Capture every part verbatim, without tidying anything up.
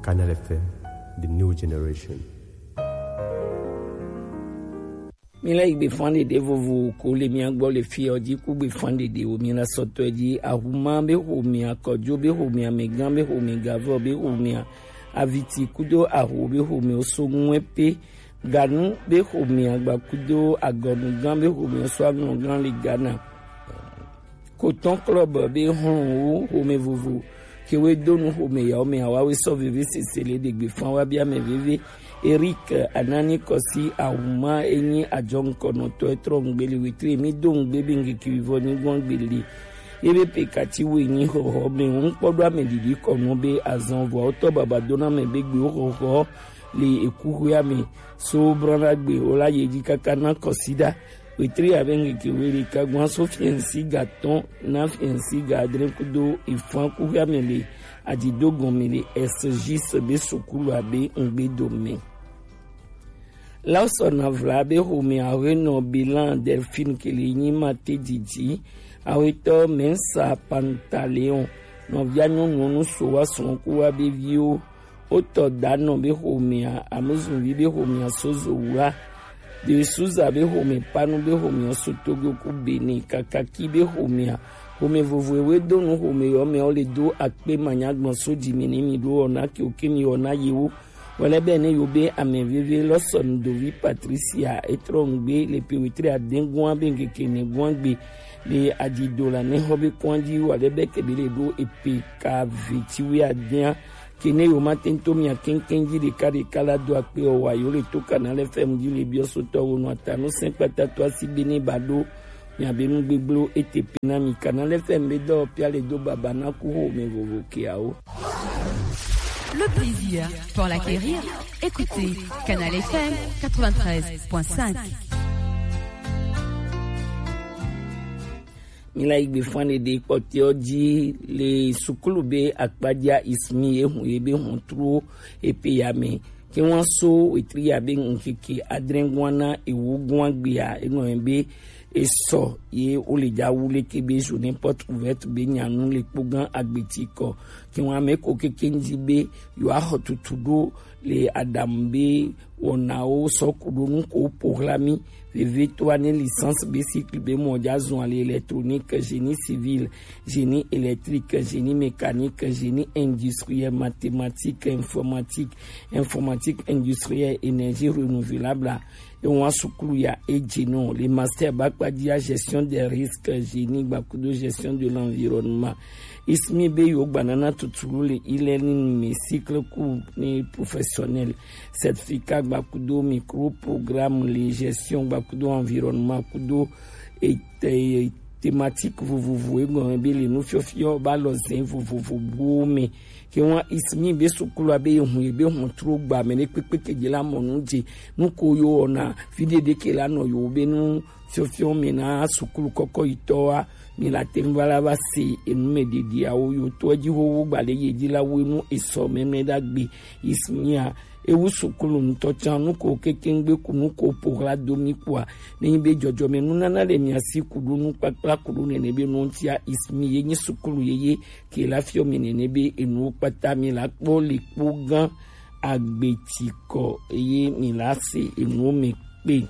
Canal F M, the new generation. Mi la yi gbe fan ɖeɖe vovo ko le mia gbɔ le fi ɔ ji ku gbe fan ɖeɖe o. Mi la sɔtɔ ji ahuma be xomia, kɔjo be xomia, megan be xomia, gavɔ be xomia, aviti kudo aho be xomia, oso ŋue pe ganu be xomia, gba kudo agɔnu gan be xomia, oso aŋlɔ gan le Ghana. Kotɔn Club be hlɔnwo xomɛ vovo kewe donu xomɛ yawo mɛ awawe sɔ veve sese le ɖegbe fan wa bia mɛ veve. Eric Anani Kɔsi Ahuma enyi ajɔ ŋkɔnɔtɔ etrɔ ŋgbe le wetre mi do ŋgbe be ŋgeke vɔ ni gbɔn gbe le. Ebe pe kati wo enyi xɔxɔ mɛ ŋkpɔ do ame didi kɔnɔ be azan vɔ tɔ baba dona mɛ be gbe wo xɔxɔ le ekuxuea mɛ so brɔna gbe wo la ye dzi kaka na Kɔsi da. Wetri abe ŋkeke wele kagban so fiɛnsi ga tɔn na fiɛnsi ga adre kudo ifan kuxia mɛ le adido gɔn mɛ le S J S be sukulu abe ŋgbe do mɛ. Lawson Avla be xomɛ awe nɔ bilan Delphine kele nyi ma te didi awetɔ Mensa Pantaleon nɔvia nyɔnu nu so wa sɔn ku wa be viwo. Wotɔ danɔ be xomɛa, amezunvi be xomɛa so zo wla. Desuza be xomɛ panu be xomɛa so Togo ku Benin, Kakaki be xomɛa. Xomɛ vovo ewe do nu xomɛ yɔ mɛ wo le do akpe manya gbɔn so dzi mi ni mi ɖo ɔ na ke o ke mi ɔ na yewo. Wɛlɛ bɛ ne yo be amɛ veve lɔ sɔ nu dovi Patricia etrɔ ŋgbe le pe wetre adengua be ŋkeke ne gua gbe le adido la ne xɔ be kɔn dzi wɛlɛ bɛ ke be le ɖo epe ka ve ti wi adea. Kene yo ma tento mia keŋkeŋ dzi ɖeka ɖeka la do akpe ɔ wa yo le to Canal F M dzi le biɔ sotɔ wo nɔ ata nu sɛn kpata to asi be ne ba ɖo mia be nu gbegblẽ ete pe na mi. Canal F M be dɔ pia le do baba na ku ho me vovo ke awo. Le plaisir pour l'acquérir, écoutez Canal F M quatre-vingt-treize point cinq. Mi la yi gbe fan ɖeɖe kpɔtɔewo dzi le sukulu be akpadzia ismi ye hun ye be hun tro epe ya me. Ke wan so wetri ya be ŋkeke adre gwan na ewo gwan gbea enɔ ye be esɔ ye wo le dza wu leke be journée porte ouverte be nyanu le kpo gan agbeti kɔ. Ke wan me ko keke ŋdi be yo axɔ tutu ɖo le adamu be wɔnawo sɔ ku ɖo nu ko po hla mi. Vevitɔ ne licence be cycle be mɔ dza zɔn le électronique, génie civil, génie électrique, génie mécanique, génie industriel, mathématique, informatique, informatique industrielle, énergie renouvelable. Ewa sukulu ya eje no le master bakpadia gestion des risques, génie gbakudo gestion de l'environnement. Ismi be yo gbanana tutulu le e-learning me cycle court ne professionnel. Certificat gbakudo micro programme le gestion gbakudo environnement kudo et thématique vovovo egɔn be le nu fiɔfiɔ ba lɔ zɛn vovovo bo me. Ke wan ismi be sukulu abe ye hun ye be hun tro gba me ne kpekpe ke je la mɔ nu je nu ko yo ona fi ɖeɖe ke la nɔ yo be nu fiɔfiɔ me na sukulu kɔkɔ yi tɔ wa. Mi la te ŋu va la va se enu me ɖeɖe awo yo to edzi xoxo gba ɖe ye dzi la wo enu esɔ mɛmɛ ɖagbe ismia. Ewu sukulu ŋutɔ tsan nu ko keke ŋgbe ku nu ko po hla do mi kua. Ne nyi be dzɔdzɔme nunana le mia si ku ɖo nu kpakpla ku ɖo nene be nu ŋutia ismi ye nyi sukulu ye ye ke la fiɔ mi nene be enuwo kpata mi la kpɔ le kpo gan agbe ti kɔ eye mi la se enuwo me kpe.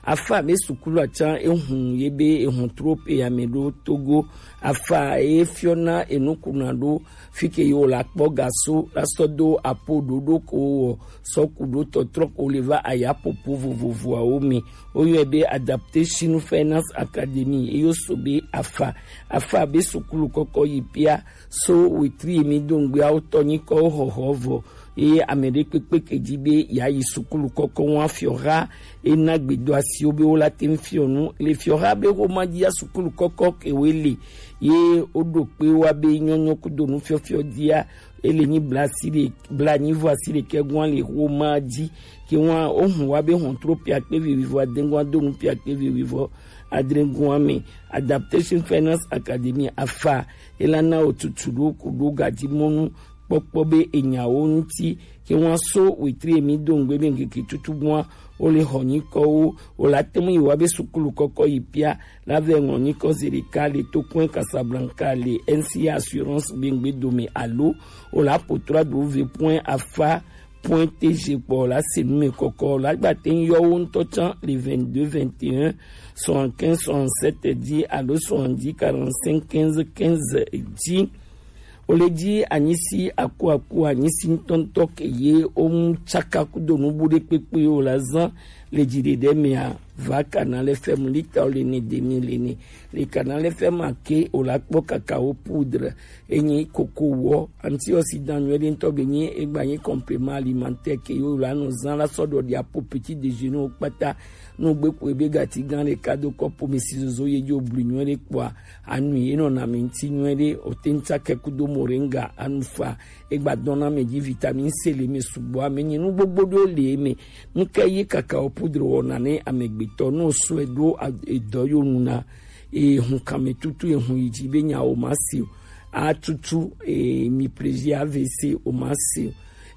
Afa be sukulu atsan ehun ye be ehun tro pe ya me ɖo Togo. Afa ye fiɔ na enukuna ɖo fi ke yo la kpɔ gaso la sɔ do apo ɖoɖo ko wɔ sɔ ku ɖo tɔtrɔ ko le va aya popo vovovoawo me. Wo yɔe be Adaptation Finance Academy. Eyo so be afa, afa be sukulu kɔkɔ yi pia so wetri mi do ŋgbe awo tɔ nyi kɔ xɔxɔ vɔ. Eye ame ɖe kpekpe ke dzi be ya yi sukulu kɔkɔ wa fiɔha ena gbedo asiwo be wo la te ŋu fiɔ nu le fiɔha be xoma dzi ya sukulu kɔkɔ ke wo le ye wo ɖo kpe wa be nyɔnyɔ kudo nu fiɔfiɔ dia ele nyi bla si ɖe bla nyi vɔ asi ɖekɛ gwan le xoma dzi ke wa wo hun wa be hɔn tro pia kpe vivi vɔ adengwan do nu pia kpe vivi vɔ adrengwan me. Adaptation Finance Academy afa ela na wo tutu ɖo ku ɖo gadimɔnu kpɔkpɔ be enyawo ŋuti, ke ŋua so wetri emi do ŋgbe be ŋkeke tutu gbɔa, wo le xɔ nyikɔwo, wo la te ŋu yi wa be sukulu kɔkɔ yi pia, la vɛ ŋlɔ nyikɔ ze ɖeka le to kɔe Casablanca le N C A Assurance be ŋgbe dome alo wo la poto ado ve point afa point T G kpɔ la se nu me kɔkɔ la gba te ŋu yɔ wo ŋutɔ can le vingt-deux vingt et un soixante-quinze soixante-sept dzi alo soixante-dix quarante-cinq quinze quinze dzi. Wo le dzi anyisi aku aku anyisi ŋutɔŋutɔ ke ye wo ŋu tsaka kudo nubu ɖe kpekpe wo la zan le dzi ɖe ɖe mea va Canal F M lita wo le ne demi le ne le Canal F M ake wo la kpɔ kakao poudre enyi koko wɔ antioxydant nyuie ɖe ŋutɔ be nyi egba nyi complément alimentaire ke yo la nɔ zan la sɔ ɖɔ ɖi apo petit déjeuner wo kpata. No gbe ko ebe gati gan ɖeka do kɔpo mi si zozo ye dzi wo blu nyuie ɖe kpɔa anu ye nɔ na mi ŋuti nyuie ɖe o te ŋuti ake kudo moringa anu fa egba dɔn na mi dzi vitamine C le mi sugbɔ ame nyi nu gbogbo ɖo le mi nu ke ye kakao poudre wɔna ne amegbetɔ no sɔe ɖo edɔ yo nu na ehun kame tutu ehun yi dzi be nya o ma se o atutu eh, mi plaisir A V C o ma se o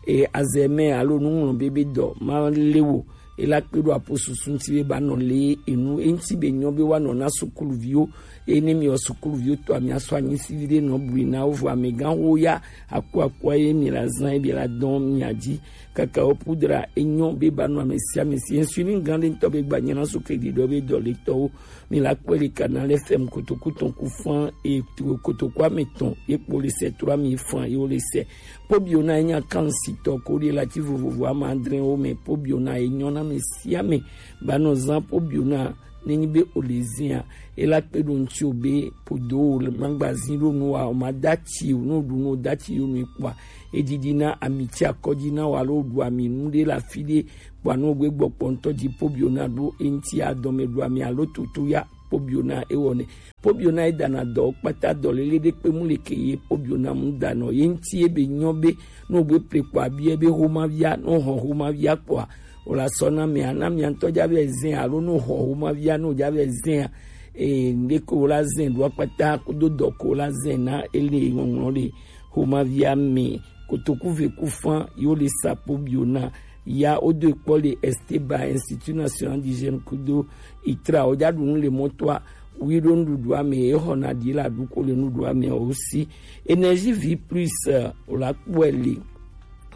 eh, azeme alo nuŋlɔ bebe dɔ ma le wo ela kpe ɖo apo susu ŋuti be ba nɔ le enu eŋuti be nyɔ be wa nɔ na sukuluviwo eye ne mi wɔ sukuluviwo tɔ mi asɔ anyi si vi ɖe nɔ bui na wo vɔ amegã wo ya aku akua ye mi la zan ye bi la dɔn mi adzi kakao poudre enyɔ be ba nɔ ame sia ame si insulin gã ɖe ŋutɔ be gba nyina so ke ɖiɖɔ be dɔ le tɔwo Mi la kpɔe le Canal F M kotoku tɔn ku fan e kotoku ame tɔn ye kpo le sɛ tro ami fan ye wo le sɛ. Pobio na enya kan si tɔ ko de la ti vovovo ama adre wo me pobio na enyo na me si ame ba nɔ zan pobio na nenyi be o le zia e la kpe ɖo ŋuti o be podo o le magazin ɖo nu wa o ma dati o no ɖu no dati yo nu kpɔa e didi na ami ti akɔdzi na wa lo ɖu ami nu ɖe la fi ɖe Kpɔa nu gbe gbɔ kpɔ ŋutɔ dzi pobio na ɖo eŋti adɔme ɖo ami alo tutu ya pobio na ewɔ ne. Pobio na edana dɔ kpata dɔ lele ɖe kpe mu le ke ye pobio na mu danɔ ye ŋti ebe nyɔ be no gbe ple kpɔa biɛ be homa via no hɔ homa via kpɔa o la sɔ na mia na mia ŋutɔ dza vɛ zɛn alo no hɔ homa via no dza vɛ zɛn a e ŋɖe ko la zɛn ɖo akpata kudo dɔ ko la zɛn na ele ŋɔŋlɔ le homa via me kotoku ve ku fan yo le sa pobio na Ya wo do kpɔ le Esteba Institut National d'Hygiène kudo itra wo ja ɖu nu le mɔtoa wi ɖo nuɖuɖua me ye xɔna ɖi la ɖu ko le nuɖuɖua me wo si. Énergie Vie Plus eh, wo la kpɔe le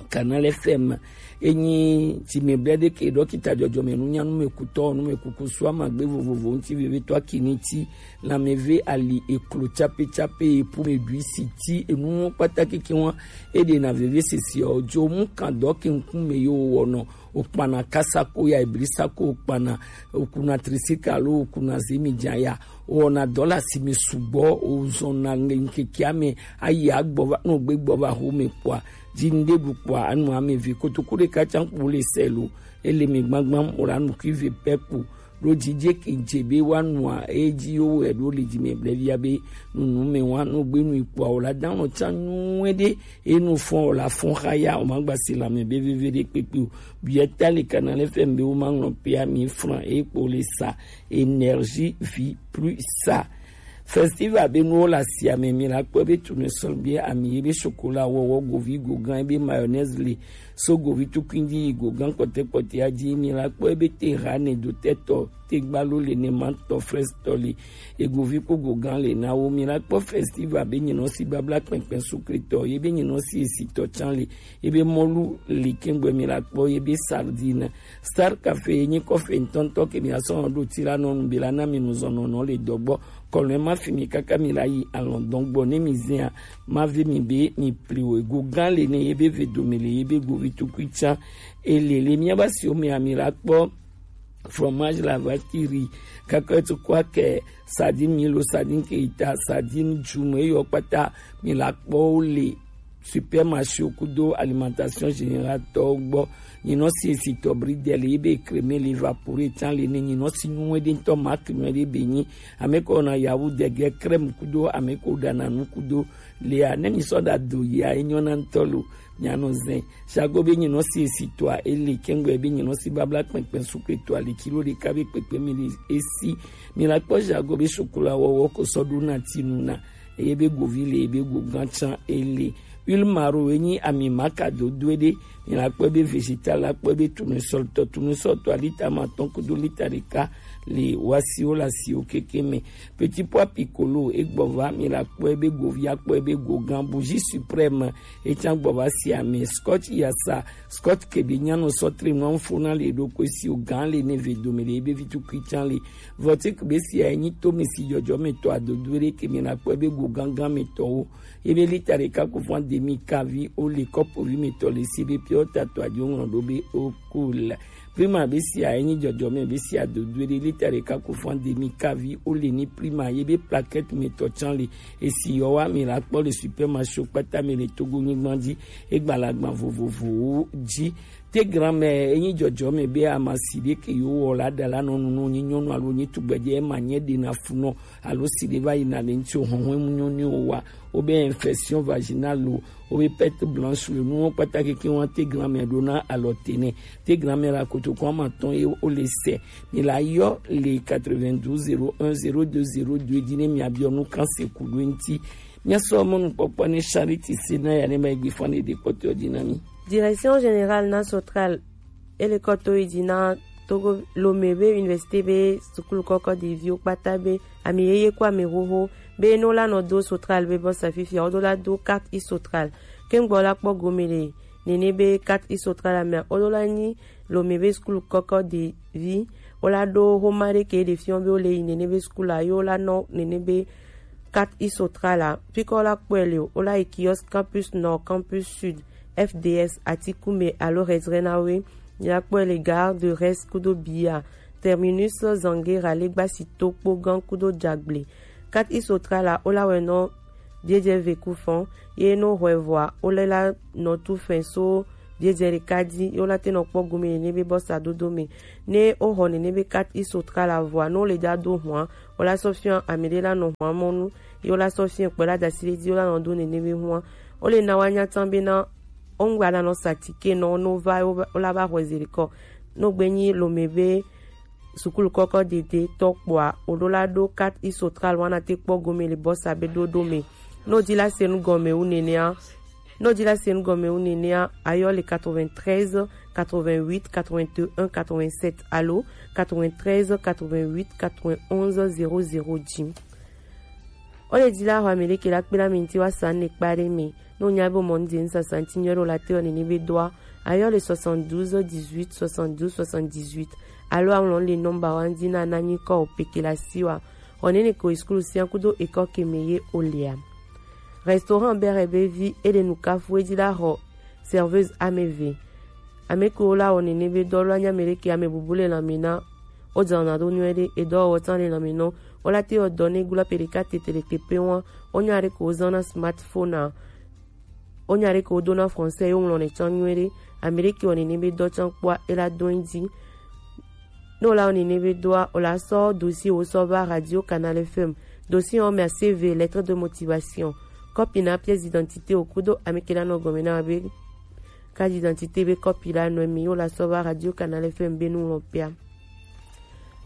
Canal F M enyi tsi me blɛ ɖe ke ɖɔkita dzɔdzɔme nunyanu me kutɔ nu me kuku sua magbe vovovo ŋuti vevetɔ akini ti Lãmeve ali eklo tsape tsape epu me ɖui si ti enuwo kpata keke wa eɖe na veve sese o dzo mu kan dɔ ke ŋkume yo wɔnɔ okpana kasa ko ya eblisa ko okpana okuna trisika alo okuna zemi dza ya wɔna dɔ le asime sugbɔ ozɔna le ŋkekea me ayi agbɔ va no gbe gbɔ va xo me kpɔa dzi ŋɖe ɖu kpɔa anu ame ve kotoku ɖeka tsa kpo le sɛ lo ele me gbagbam o la nukui ve pɛ kpo ɖo dzidze ke dze be woanua edzi wo wɛ ɖo le dzime blɛvia be nunu me wa no gbe nu ikpɔa o la dan nɔ tsa nyuie ɖe enu fɔn o la fɔn xa ya o ma gba si lame be veve ɖe kpekpe o biɛ ta le kana le fɛn be wo ma ŋlɔ pea mi fran e kpo le sa énergie vie plus sa Festival be nuwo le asia me mi la kpɔe be tournesol be ami ye be chocolat wɔwɔ govi gogan ye be mayonnaise le so govi tukui dzi yi gogan kpɔtɛ kpɔtɛ ya dzi mi la kpɔe be te ha ne do tɛ tɔ te gbalo le ne ma tɔ fraise tɔ le egovi kpo gogan le na wo mi la kpɔ festival be nyinɔ si babla kpɛnkpɛn sukritɔ ye be nyinɔ si esitɔ tsan le ye be mɔlu le kɛngbɛ mi la kpɔ ye be sardine Star Café ye nyi kɔfe ŋutɔŋutɔ ke mi asɔ ɖo ti la nɔ nu be la na mi nuzɔnɔnɔ le dɔgbɔ kɔlɔn ma fi mi kaka mi la yi alɔndɔn gbɔ ne mi zɛa ma ve mi be mi pli wo ego gan le ne ye be ve dome le ye be govi tukui tsa ele le mia ba si o me ami la kpɔ fromage la vache qui rit kaka to kwa ke sardine milo sardine keita sardine jume yo kpata mi la kpɔ wo le supermarché kudo alimentation générale tɔwo gbɔ nyinɔ si esitɔ bridel ye be creme le évapore tsan le ne nyinɔ si nyuie ɖe ŋutɔ marque nyuie ɖe be nyi ame kɔ na yawu dege crème kudo ame ko ɖana nu kudo lea ne mi sɔ ɖa do yia enyɔ na ŋutɔ lo mianɔ zɛ sago be nyinɔ si esitɔa ele kɛŋgbɛ be nyinɔ si babla kpɛnkpɛn sukretɔa le kilo ɖeka be kpekpe mi le esi mi la kpɔ sago be sukula wɔwɔ ko sɔ ɖo na tinu na eye be govi le ebe go gã tsã ele Huile maro enyi ami maka dodo ɖe, mi la kpɔe be vegetal la kpɔe be tournesol tɔ, tournesol tɔ lita ma tɔn kudo lita ɖeka le wasiwo le asiwo keke me. Petit pois piccolo egbɔ va, mi la kpɔe be govia kpɔe be gogan, bougie suprême etsan gbɔ va si ame, scotch yasa, scotch kebe nyanu sɔtre nua fo na le ɖo ko si o gan le ne ve dome le ebe vitu kui tsan le. Vɔtik be si a enyi to mi si jɔjɔ me tɔ adodo ɖe ke mi la kpɔe be gogan gan me tɔwo. Ebe lita ɖeka ko fun demi kavi o le kɔpo vi me tɔ le si be piɔ ta to adio ŋlɔ ɖo be o cool. Prima be sia enyi jɔjɔme be sia dodo ɖe lita ɖeka ko fun demi kavi o le ni prima ye be plaquette me tɔ tsan le. Esi yɔ wa mi la kpɔ le supermarché kpata me le Togo nyigban dzi, egbalagban vovovowo dzi. Te grand-mère enyi jɔjɔme be amasi ɖe ke yo wɔ la da la nɔ nu nɔ nyi nyɔnu alo nyi tugbedze ema nye ɖe na fu nɔ alo si ɖe va yi na le ŋuti o hɔhɔn emu nyɔnu o wa o be infection vaginale o o be perte blanche le nuwo kpata keke wa te grand-mère ɖo na alɔ te nɛ. Te grand-mère la kotoko ama tɔn ye o le sɛ. Mi la yɔ le quatre-vingt-douze zéro un zéro deux zéro deux dzi ne mi abiɔ nu kan se ku ɖo ŋuti. Mi asɔ mɔnukpɔkpɔ ne Charity se na ya ne ma egbe fɔ ne ɖe kpɔtɔ dzi na mi. Direction générale na Sotral ele kɔ to yi dzi na Togo Lomé be université be sukulu kɔkɔ ɖeviwo kpata be ami yeye kɔ ami xoxo be no la nɔ do Sotral be bɔsa fifia wodo la do carte e-Sotral. Kengbe wo la kpɔ gome le nene be carte e-Sotral amea wodo la nyi Lomé be sukulu kɔkɔ ɖevi wo la ɖo xoma ɖe ke ɖe fiɔ be wo le yi nene be sukulu a yo la nɔ nene be carte e-Sotral a. Pikɔ la kpɔe le o, wo la yi kiosque Campus Nord, Campus Sud, F D S, Atikume alo Redrenawe. Mi la kpɔe le gare de Rest kudo Bia, terminus Zanguera, Legbasi to kpo gan kudo Jagble. Carte e-Sotral a, wo la wɛ nɔ biedze ve ku fɔn, ye no hwɛ vɔa, wo le la nɔ tu fɛn so biedze ɖeka dzi, ye wo la te nɔ kpɔ gome nene be bɔsa dodo me. Ne wo xɔ nene be carte e-Sotral a vɔa, no le ja do hwan, wo la sɔ fiɔ ame ɖe la nɔ hwan mɔnu, ye wo la sɔ fiɔ kpɛ la dasi ɖe dzi, wo la nɔ do nene be hwan. Wo le na wa nya tsan be na wo ŋgba la nɔ sa tike nɔ no va, wo va, wo la va xɔ zi ɖekɔ. No gbe nyi Lomé be sukulu kɔkɔ dede tɔ kpɔa, o ɖo la ɖo carte e-Sotral wana te kpɔ gome le bɔsa be ɖoɖo me. No di la se nu gɔme wu nenea, no di la se nu gɔme wu nenea, ayɔ le quatre-vingt-treize, quatre-vingt-huit, quatre-vingt-un, quatre-vingt-sept alo quatre-vingt-treize, quatre-vingt-huit, quatre-vingt-onze, zéro zéro dzi. O le di la xɔ ame ɖe ke la kpe la mi ŋti wa sa ne kpa ɖe me. No nya be o mɔ nu di nu sasa ŋti nyɔ ɖo la te ɔ nene be doa, ayɔ le soixante-douze, dix-huit, soixante-douze, soixante-dix-huit. Alo aŋlɔ le nɔmba wa ŋdi na na nyi kɔ o peke la si wa. Xɔ nene ko sukulu sia kudo ekɔ ke me ye o lea. Restaurant Bere be vi e le nu kafu e di la xɔ serveuse ame ve. Ame ke wo la wɔ nene be dɔ la nya me ɖe ke ame bubu le lanme na. O dzana ɖo nyuie ɖe, edɔwɔwɔ tsan le lanme nɔ. O la te wɔ dɔ ne gula pe ɖeka tete le kpekpe wa. O nya ɖe ko wo zan na smartphone a. O nya ɖe ke wo do na français ye wo ŋlɔ ne tsan nyuie ɖe. Ame ɖe ke wɔ nene be dɔ tsan kpɔa e la do ŋdi. Ne o la wɔ nene be doa, o la sɔ dossier wo sɔ va Radio Canal F M. Dossier ɔ mea C V, lettre de motivation, kɔpi na pièce d'identité o kudo ame ke la nɔ gɔme na be carte d'identité be kɔpi la nɔ mi, o la sɔ va Radio Canal F M be nu ŋlɔ pea.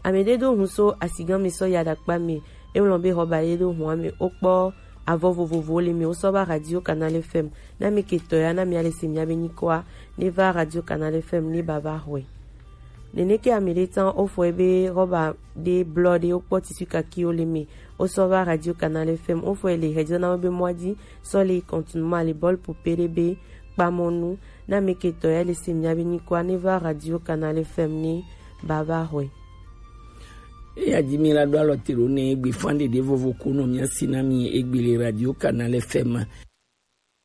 Ame ɖe do hun so asigan mi sɔ ya ɖakpa mi, e ŋlɔ be xɔba ɖe do hun ame o kpɔ avɔ vovovowo le mi, o sɔ va Radio Canal F M. Na mi ke tɔ ya, na mi ale se mi abe nyikɔa, ne va Radio Canal F M ne baba xɔe. Nene ke ame ɖe tsan o fɔe be xɔba ɖe blɔ ɖe o kpɔ tissu kaki o le mi, o sɔ va Radio Canal F M, o fɔe le hedzɔ na be mɔa dzi, sɔ le continue ma le bɔl poupée ɖe be kpamɔnu. Na mi ke tɔ ya le se mi abe nyikɔa ne va Radio Canal F M ne baba xɔe. Eya dzi mi la ɖo alɔ te ɖo ne egbe fan ɖeɖe vovo ko nɔ mia si na mi egbe le Radio Canal F M.